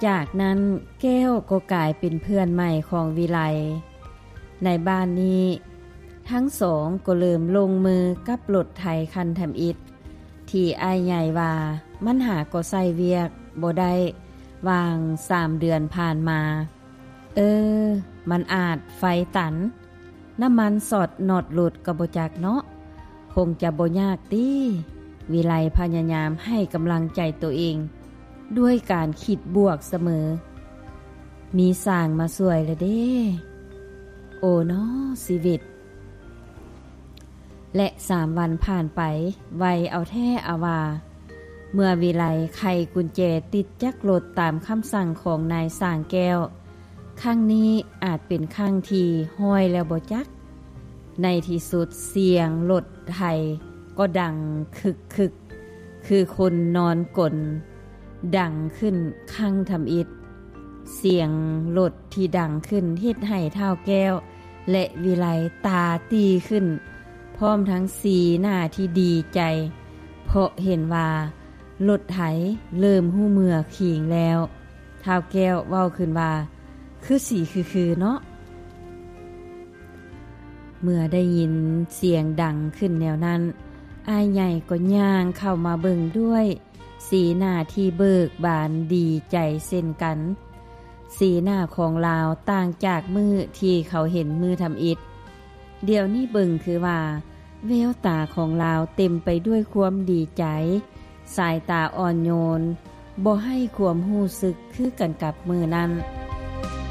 ຈາກນັ້ນແກ້ວກໍກາຍເປັນເພື່ອນໃໝ່ຂອງວິໄລ. ໃນບ້ານນີ້ ທັງສອງກໍເລີ່ມລົງມືກັບລົດໄຖຄັນທຳອິດ ທີ່ອ້າຍໃຫຍ່ວ່າມັນຫາກໍໃຊ້ວຽກບໍ່ໄດ້ຫວ່າງສາມເດືອນຜ່ານມາ. ເອີ ມັນອາດໄຟຕັນ, ນ້ຳມັນຊັອດນັອດຫຼຸດກໍບໍ່ຈັກເນາະ, ຄົງຈະບໍ່ຍາກຕິ. ວິໄລພະຍາຍາມໃຫ້ກຳລັງໃຈໂຕເອງດ້ວຍການຄິດບວກສະເໝີ. ມີຊ່າງມາຊ່ວຍລະເດ້. ໂອເນາະຊີວິດ. ແລະສາມວັນຜ່ານໄປໄວເອົາແທ້ເອົາວ່າ. ເມື່ອວິໄລໄຂກຸນແຈຕິດຈັກລົດຕາມຄຳສັ່ງຂອງນາຍຊ່າງແກ້ວ, ຄັ້ງນີ້ອາດເປັນຄັ້ງທີຮ້ອຍແລ້ວບໍ່ຈັກ. ໃນທີ່ສຸດສຽງລົດໄຖກໍດັງຄຶກໆ ຄືຄົນນອນກົນ ດັງຂຶ້ນຄັ້ງທຳອິດ. ສຽງລົດທີ່ດັງຂຶ້ນເຮັດໃຫ້ທ້າວແກ້ວ ແລະ ວິໄລຕາຕີຂຶ້ນ ພ້ອມທັງສີໜ້າທີ່ດີໃຈ ເພາະເຫັນວ່າລົດໄຖເລີ່ມຮູ້ເມື່ອຄີງແລ້ວ. ທ້າວແກ້ວເວົ້າຂຶ້ນວ່າ ຄືສີຄືໆເນາະ. ເມື່ອໄດ້ຍິນສຽງດັງຂຶ້ນແນວນັ້ນ, ອ້າຍໃຫຍ່ກໍຍ່າງເຂົ້າມາເບິ່ງດ້ວຍ ສີໜ້າທີ່ເບີກບານດີໃຈເຊັ່ນກັນ. ສີໜ້າຂອງລາວຕ່າງຈາກມື້ທີ່ເຂົາເຫັນມື້ທຳອິດ. ດຽວນີ້ເບິ່ງຄືວ່າແວວຕາຂອງລາວເຕັມໄປດ້ວຍຄວາມດີໃຈ, ສາຍຕາອ່ອນໂຍນ, ບໍ່ໃຫ້ຄວາມຮູ້ສຶກຄືກັນກັບມື້ນັ້ນ.